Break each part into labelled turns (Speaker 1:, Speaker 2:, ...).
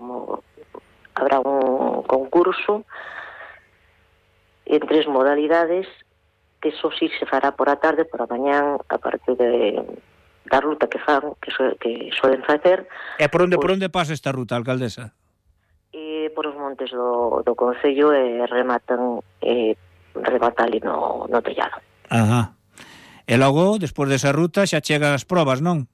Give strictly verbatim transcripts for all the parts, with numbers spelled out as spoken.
Speaker 1: como habrá un concurso en tres modalidades, que eso sí se fará por a tarde, por a mañán, a partir de da ruta que fan, que, so, que soden facer.
Speaker 2: E por onde,
Speaker 1: pues,
Speaker 2: por onde pasa esta ruta, alcaldesa?
Speaker 1: E por os montes do, do Concello e rematan e remata ali no, no tellado.
Speaker 2: Ajá. E logo, despois desa ruta, xa chegan as probas, non?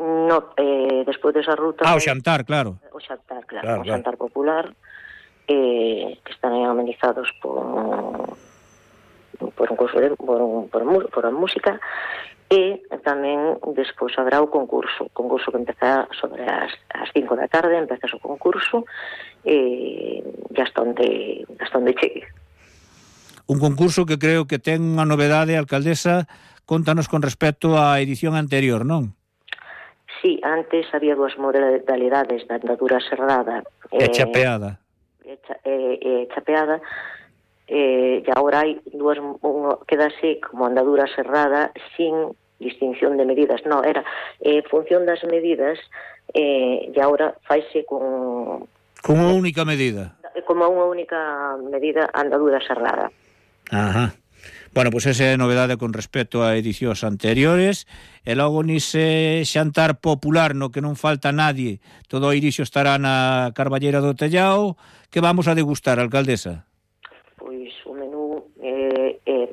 Speaker 1: No, eh, despois desa ruta...
Speaker 2: Ah, o xantar, claro.
Speaker 1: O xantar, claro,
Speaker 2: claro,
Speaker 1: o
Speaker 2: claro.
Speaker 1: xantar popular, eh, que están amenizados por... por un curso de, por, un, por, un, por a música, e tamén despois habrá o concurso o concurso que empeza sobre as, as cinco da tarde, empeza o concurso e hasta onde, hasta onde chegue.
Speaker 2: Un concurso que creo que ten unha novedade, alcaldesa, contanos con respecto á edición anterior, non?
Speaker 1: Sí, antes había dúas modalidades da andadura serrada
Speaker 2: e eh, chapeada
Speaker 1: e, cha, e, e chapeada Eh, e agora hai dúas, uno, quedase como andadura serrada sin distinción de medidas. No, era eh, función das medidas eh, e agora faise con...
Speaker 2: Con unha única medida.
Speaker 1: Como unha única medida andadura serrada.
Speaker 2: Ajá. Bueno, pois pues esa é a novedade con respecto a edicións anteriores. E logo nise xantar popular no que non falta nadie, todo o Irixo estará na Carballera do Tellao. Que vamos a degustar, alcaldesa?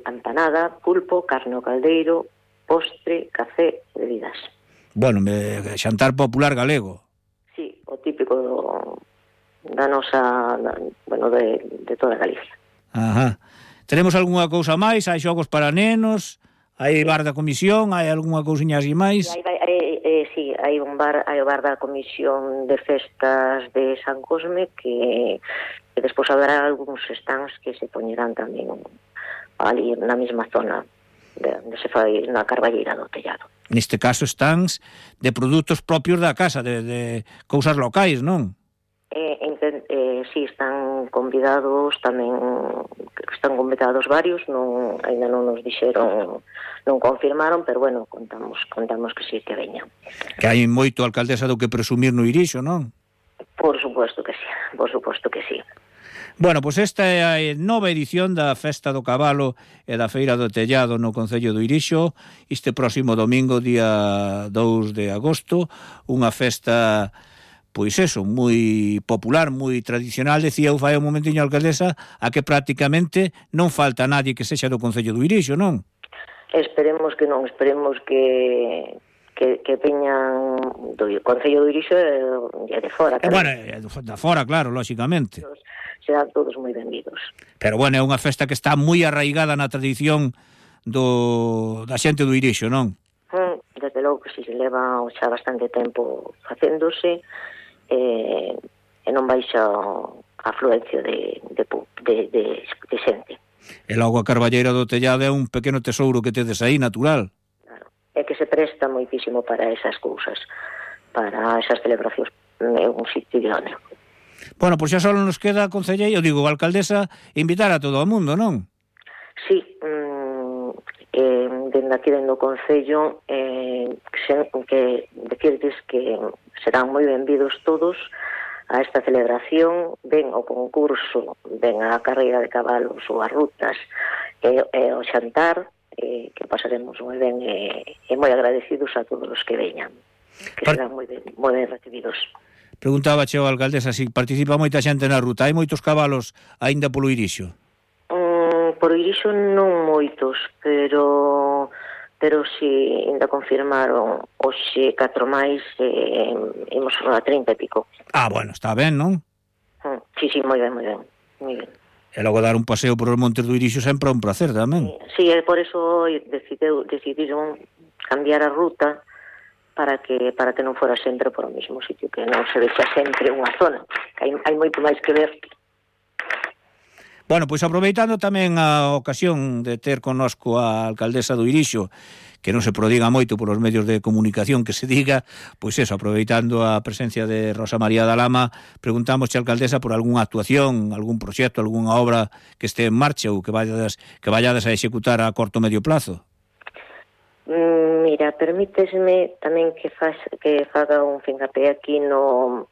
Speaker 1: Empanada, pulpo, carne ao caldeiro, postre, café e bebidas.
Speaker 2: Bueno, me, xantar popular galego.
Speaker 1: Sí, o típico do, da nosa, da, bueno, de, de toda Galicia.
Speaker 2: Ajá. Tenemos algunha cousa máis? Hai xogos para nenos? Hai bar da comisión? Hai algunha cousiña así máis?
Speaker 1: Hai, hai, eh, eh, sí, hai un bar, hai o bar da comisión de festas de San Cosme que, que despois haberá algúns stands que se poñerán tamén ali na mesma zona de, onde se fai na Carballera do Tellado.
Speaker 2: Neste caso stands de produtos propios da casa, de, de cousas locais, non?
Speaker 1: Eh, eh, eh, sí, están convidados tamén, están convidados varios, non, ainda non nos dixeron, non confirmaron, pero bueno, contamos contamos que sí que veñan.
Speaker 2: Que hai moito, alcaldesa, do que presumir no Irixo, non?
Speaker 1: Por suposto que sí, por suposto que sí.
Speaker 2: Bueno, pois esta é a nova edición da Festa do Cabalo e da Feira do Tellado no Concello do Irixo, este próximo domingo, día dous de agosto, unha festa, pois eso, moi popular, moi tradicional. Decía eu fai un momentiño, alcaldesa, a que prácticamente non falta nadie que sexa do Concello do Irixo, non?
Speaker 1: Esperemos que non, esperemos que... que, que veñan do Concello do Irixo e de fora.
Speaker 2: E bueno, de fora, claro, lóxicamente.
Speaker 1: Serán todos moi benvidos.
Speaker 2: Pero bueno, é unha festa que está moi arraigada na tradición do, da xente do Irixo, non?
Speaker 1: Mm, desde logo que si se leva xa bastante tempo facéndose eh, e non baixa a afluencia de, de, de, de, de xente.
Speaker 2: E logo a Carballera do Tellado é un pequeno tesouro que tedes aí, natural.
Speaker 1: Claro, é que se presta moitísimo para esas cousas, para esas celebracións, é un sitio idóneo.
Speaker 2: Bueno, pois xa só nos queda, concelleiro, digo, alcaldesa, invitar a todo o mundo, non?
Speaker 1: Sí, mmm, eh, dende aquí dende o Concello eh, que, que decirles que serán moi benvidos todos a esta celebración, ven ao concurso, ven a carreira de cabalos ou as rutas e, e ao xantar, eh, que pasaremos moi ben e, e moi agradecidos a todos os que veñan, que Par... serán moi ben, moi ben recibidos.
Speaker 2: Preguntaba cheo a alcaldesa se si participa moita xente na ruta. Hai moitos cabalos aínda polo Irixo?
Speaker 1: Mm, por Irixo non moitos, pero pero si ainda confirmaron hoxe catro máis, eh, imos a trinta e pico.
Speaker 2: Ah, bueno, está ben, non?
Speaker 1: Mm, sí, sí, moi ben, moi ben, moi ben.
Speaker 2: E logo dar un paseo por os montes do Irixo sempre é un placer tamén.
Speaker 1: Sí, sí, por eso decideu, decidiron cambiar a ruta para que para que non fora sempre por o mesmo sitio, que non se vexa sempre unha zona, que hai, hai moito máis que ver.
Speaker 2: Bueno, pois aproveitando tamén a ocasión de ter connosco a alcaldesa do Irixo, que non se prodiga moito por os medios de comunicación que se diga, pois eso, aproveitando a presencia de Rosa María da Lama, preguntamos a alcaldesa por algunha actuación, algún proxecto, algunha obra que este en marcha ou que vayades, que vayades a executar a corto medio plazo.
Speaker 1: Mira, permítesme tamén que, faz, que faga un fincapé aquí no,